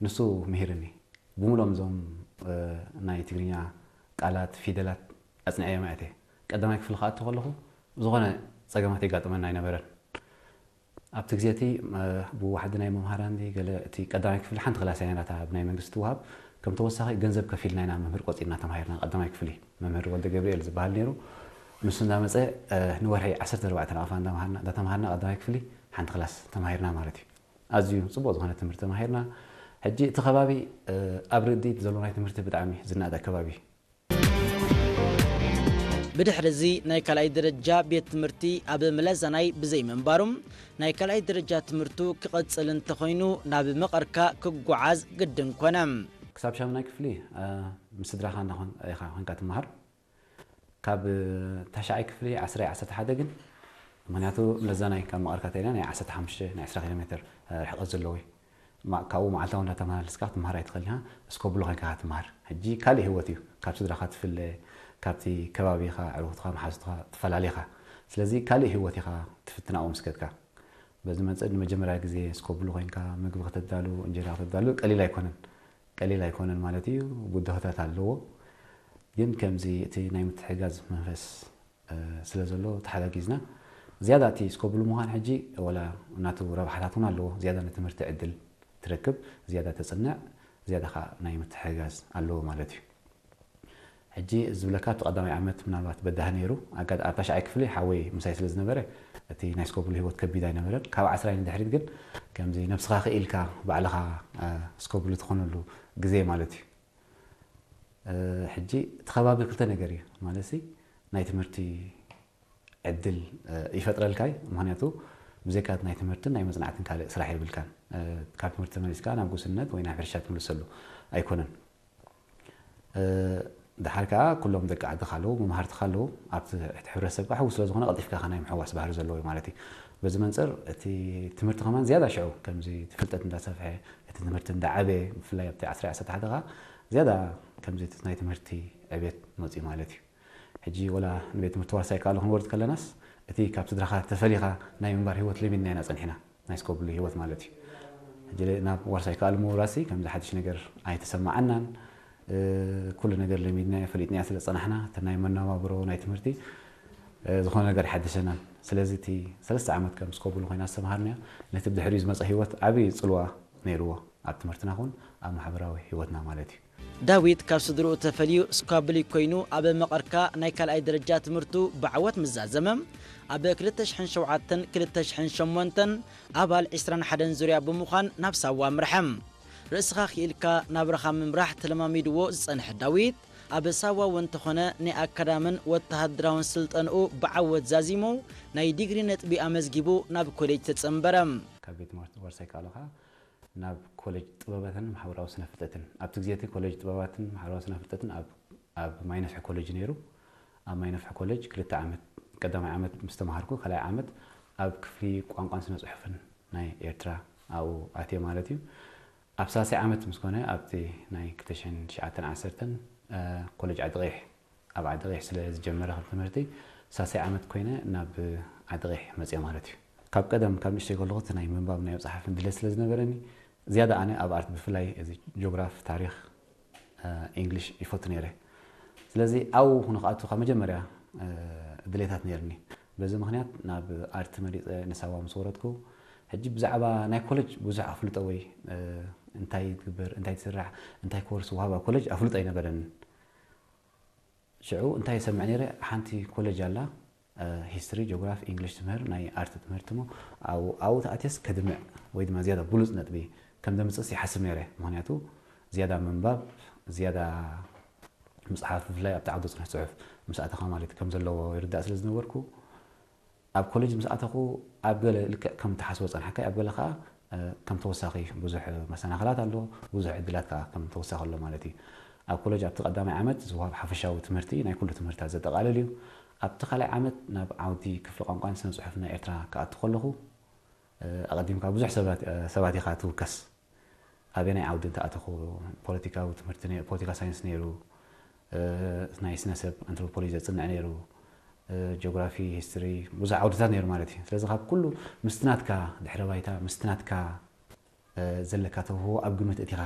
ንሱ ምሂርኒ። ብምሎም እዞም ናይ ትግርኛ ቃላት፣ ፊደላት ኣጽንዐዮም ኣእተ። ቀዳማይ ክፍሊ ክኣቱ ከለኹ ዝኾነ ጸገማት የጋጥመና ኣይነበረን። ኣብቲ ግዜ እቲ ብዋሕዲ ናይ መምሃራን ገለ፣ እቲ ቀዳማይ ክፍሊ ሓንቲ ክላስ እያ ነራታ ብናይ መንግስቲ ትወሃብ። ከም ተወሳኺ ገንዘብ ከፊልና ኢና መምህር ቆጺርና ተማሂርና። ቀዳማይ ክፍሊ መምህር ወልደ ገብርኤል ዝበሃል ነይሩ። ንሱ እንዳመጸ ንወርሒ ዓሰርተ ኣርባዕተ ናቕፋ እንዳተማሃርና ቀዳማይ ክፍሊ ሓንቲ ክላስ ተማሂርና ማለት እዩ። ኣዝዩ ጽቡቕ ዝኾነ ትምህርቲ ተማሂርና። ሕጂ እቲ ከባቢ ኣብ ርድኢት ዘሎ ናይ ትምህርቲ ብጣዕሚ ዝናኣደ ከባቢ። ብድሕሪ እዚ ናይ ካልኣይ ደረጃ ቤት ትምህርቲ ኣብ መለዛናይ ብዘይምንባሩ ናይ ካልኣይ ደረጃ ትምህርቱ ክቐጽል እንተኾይኑ ናብ መቐርካ ክጓዓዝ ግድን ኮነ። ክሳብ ሻምናይ ክፍሊ ምስ ስድራኻ ኢኻ ኮንካ ትመሃር። ካብ ታሽዓይ ክፍሊ ዓስራይ ዓሰርተ ሓደ ግን፣ ምኽንያቱ መለዛናይ ካብ መቐርካ ተይና ናይ ዓሰርተ ሓሙሽተ ናይ ዕስራ ኪሎ ሜትር ርሕቀት ዘለዎ እዩ። ካብኡ መዓልታዊ እንዳተመላለስካ ክትመሃር ኣይትኽእልን ኢኻ። እስኮብሉ ኮይንካ ኢኻ ትመሃር። ሕጂ ካልእ ህይወት እዩ። ካብ ስድራኻ ትፍለ፣ ካብቲ ከባቢኻ፣ ኣዕሩኽትኻ፣ መሓዙትኻ ትፈላለ ኢኻ። ስለዚ ካልእ ህይወት ኢኻ ትፍትን ኣብኡ ምስ ከድካ። በዚ መንጽር ንመጀመርያ ግዜ እስኮብሉ ኮይንካ ምግቢ ከተዳሉ፣ እንጀራ ከተዳሉ ቀሊል ኣይኮነን። ቀሊል ኣይኮነን ማለት እዩ። ብድሆታት ኣለዎ። ግን ከምዚ እቲ ናይ ምትሕጋዝ መንፈስ ስለ ዘሎ ተሓጋጊዝና ዝያዳ እቲ እስኮብሉ ምዃን ሕጂ ወላ ናቱ ረብሓታት እውን ኣለዎ። ዝያዳ ንትምህርቲ ዕድል ትረክብ፣ ዝያዳ ተጽንዕ፣ ዝያዳ ከዓ ናይ ምትሕጋዝ ኣለዎ ማለት እዩ። ሕጂ ዝብለካ እቲ ቀዳማይ ዓመት ምናልባት በዳህ ነይሩ። ኣጋጣሚ ኣብ ታሽዓይ ክፍሊ ሓወይ ምሳይ ስለ ዝነበረ እቲ ናይ እስኮብሉ ህይወት ከቢድ ኣይነበረን። ካብ ዓስራይ ንድሕሪት ግን ከምዚ ነብስኻ ክኢልካ ባዕልኻ እስኮብሉ ትኾነሉ ግዜ ማለት እዩ። ሕጂ እቲ ከባቢ ክልተ ነገር እዩ ማለት ናይ ትምህርቲ ዕድል ይፈጥረልካ እዩ። ምክንያቱ ብዘይካ ናይ ትምህርትን ናይ መጽናዕትን ካልእ ስራሕ የብልካን። ካብ ትምህርቲ ተመሊስካ ናብ ጉስነት ወይ ናብ ሕርሻ ትምልሰሉ ኣይኮነን። ድሓር ከዓ ኩሎም ደቂ ዓድኻ ኣለዉ፣ መምሃርትኻ ኣለዉ። ኣብቲ ሕብረተሰብ ከዓ ሕዊ ስለ ዝኾነ ቀልጢፍካ ናይ ምሕዋስ ባህሪ ዘለዎ እዩ ማለት እዩ። በዚ መንፅር እቲ ትምህርቲ ከማን ዝያዳ ሽዑ ከምዚ እቲ ፍልጠት እንዳሰፍሐ እቲ ትምህርቲ እንዳዓበየ ብፍላይ ኣብቲ ዓስራይ ዓሰርተ ሓደ ከዓ ዝያዳ ከምዚ ናይ ትምህርቲ ዕቤት መፅኡ ማለት እዩ። ሕጂ ወላ ንቤት ትምህርቲ ዋርሳይ ከኣሉ ክንወርድ ከለናስ እቲ ካብ ስድራኻ ተፈሊኻ ናይ ምንባር ህይወት ለሚድና ኢና ጸኒሕና። ናይ ስኮብሉ ህይወት ማለት እዩ። ሕጂ ናብ ዋርሳይ ከኣሉ ምውራሲ ከምዚ ሓድሽ ነገር ኣይተሰማዓናን። ኩሉ ነገር ለሚድናዮ ፈሊጥናዮ ስለ ዝጸናሕና እቲ ናይ መነባብሮ ናይ ትምህርቲ ዝኾነ ነገር ኣይሓደሰናን። ስለዚ እቲ ሰለስተ ዓመት ከም ስኮብሉ ኮይና ዝተምሃርናዮ ነቲ ብድሕሪኡ ዝመጸ ህይወት ዓብዪ ጽልዋ ነይርዎ ኣብ ትምህርትና ኹን ኣብ ማሕበራዊ ህይወትና ማለት እዩ። ዳዊት ካብ ስድርኡ ተፈልዩ ስኳብሊ ኮይኑ ኣብ መቐርካ ናይ ካልኣይ ደረጃ ትምህርቱ ብዓወት ምስ ዛዘመ፣ ኣብ ክልተ ሽሕን ሸውዓተን ክልተ ሽሕን ሸሞንተን ኣባል ዕስራን ሓደን ዙርያ ብምዃን ናብ ሳዋ ኣምርሐ። ርእስኻ ክኢልካ ናብራኻ ምምራሕ ተለማሚድዎ ዝጸንሐ ዳዊት፣ ኣብ ሳዋ እውን እንተኾነ ናይ ኣካዳምን ወተሃደራውን ስልጠንኡ ብዓወት ዛዚሙ ናይ ዲግሪ ነጥቢ ኣመዝጊቡ ናብ ኮሌጅ ተጸንበረ። ካብ ቤት ትምህርቲ ዋርሳይ ከኣሉ ኸኣ ናብ ኮሌጅ ጥበባትን ማሕበራዊ ስነ ፍልጠትን። ኣብቲ ግዜ እቲ ኮሌጅ ጥበባትን ማሕበራዊ ስነ ፍልጠትን ኣብ ኣብ ማይነፍሒ ኮሌጅ ነይሩ። ኣብ ማይነፍሒ ኮሌጅ ክልተ ዓመት፣ ቀዳማይ ዓመት ምስ ተምሃርኩ፣ ካልኣይ ዓመት ኣብ ክፍሊ ቋንቋን ስነ ጽሑፍን ናይ ኤርትራ ኣብኡ ኣትየ ማለት እዩ። ኣብ ሳልሳይ ዓመት ምስ ኮነ ኣብቲ ናይ ክልተ ሽሕን ትሽዓተን ዓሰርተን ኮሌጅ ዓዲ ቀይሕ ኣብ ዓዲ ቀይሕ ስለ ዝጀመረ ከም ትምህርቲ ሳልሳይ ዓመት ኮይነ ናብ ዓዲ ቀይሕ መፅየ ማለት እዩ። ካብ ቀደም ካብ ንእሽተይ ከለኹ እቲ ናይ ምንባብ ናይ ምፅሓፍን ድሌት ስለ ዝነበረኒ ዝያዳ ኣነ ኣብ ኣርት ብፍላይ እዚ ጆግራፍ፣ ታሪኽ፣ ኢንግሊሽ ይፈቱ ነይረ። ስለዚ ኣብኡ ንክኣቱ ካብ መጀመርያ ድሌታት ነይርኒ። በዚ ምክንያት ናብ ኣርት መሪፀ ንሳዋ ምስ ወረድኩ ሕጂ ብዛዕባ ናይ ኮሌጅ ብዙሕ ኣፍልጦ ወይ እንታይ ትግበር እንታይ ትስራሕ እንታይ ኮርስ ወሃብ ኣብ ኮሌጅ ኣፍልጦ ኣይነበረንን። ሽዑ እንታይ ይሰምዕ ነይረ ሓንቲ ኮሌጅ ኣላ ሂስትሪ ጆግራፍ ኢንግሊሽ ትምህር ናይ ኣርት ትምህርቲ ሞ ኣብኡ ተኣትየስ ከድምዕ ወይ ድማ ዝያዳ ብሉፅ ነጥቢ ከም ደምፅእስ ይሓስብ ነይረ። ምክንያቱ ዝያዳ ምንባብ ዝያዳ ምፅሓፍ ብፍላይ ኣብቲ ዓውዲ ፅንሕ ፅሑፍ ምስ ኣተኻ ማለት ከም ዘለዎ ይርዳእ ስለ ዝነበርኩ ኣብ ኮሌጅ ምስ ኣተኹ ኣብ ገለ ልክዕ ከም ትሓስቦ ፀንሓካ ኣብ ገለ ከዓ ከም ተወሳኺ ብዙሕ መሰናኽላት ኣሎ፣ ብዙሕ ዕድላት ከዓ ከም ተወሳኺ ኣሎ ማለት እዩ። ኣብ ኮሌጅ ኣብቲ ቀዳማይ ዓመት ዝወሃብ ሓፈሻዊ ትምህርቲ ናይ ኩሉ ትምህርትታት ዘጠቓልል እዩ። ኣብቲ ካልኣይ ዓመት ናብ ዓውዲ ክፍሊ ቋንቋን ስነ ፅሑፍ ናይ ኤርትራ ክኣቱ ከለኹ ኣቐዲምካ ብዙሕ ሰባት ኢኻ ትውከስ። ኣበየናይ ዓውዲ እንተኣተኹ ፖለቲካዊ ትምህርቲ ፖለቲካ ሳይንስ ነይሩ፣ ናይ ስነ ሰብ ኣንትሮፖሎጂ ዘፅንዕ ነይሩ፣ ጂኦግራፊ፣ ሂስትሪ ብዙሕ ዓውድታት ነይሩ ማለት እዩ። ስለዚ ካብ ኩሉ ምስቲ ናትካ ድሕረ ባይታ ምስቲ ናትካ ዘለካ ተውህቦ ኣብ ግምት እቲኻ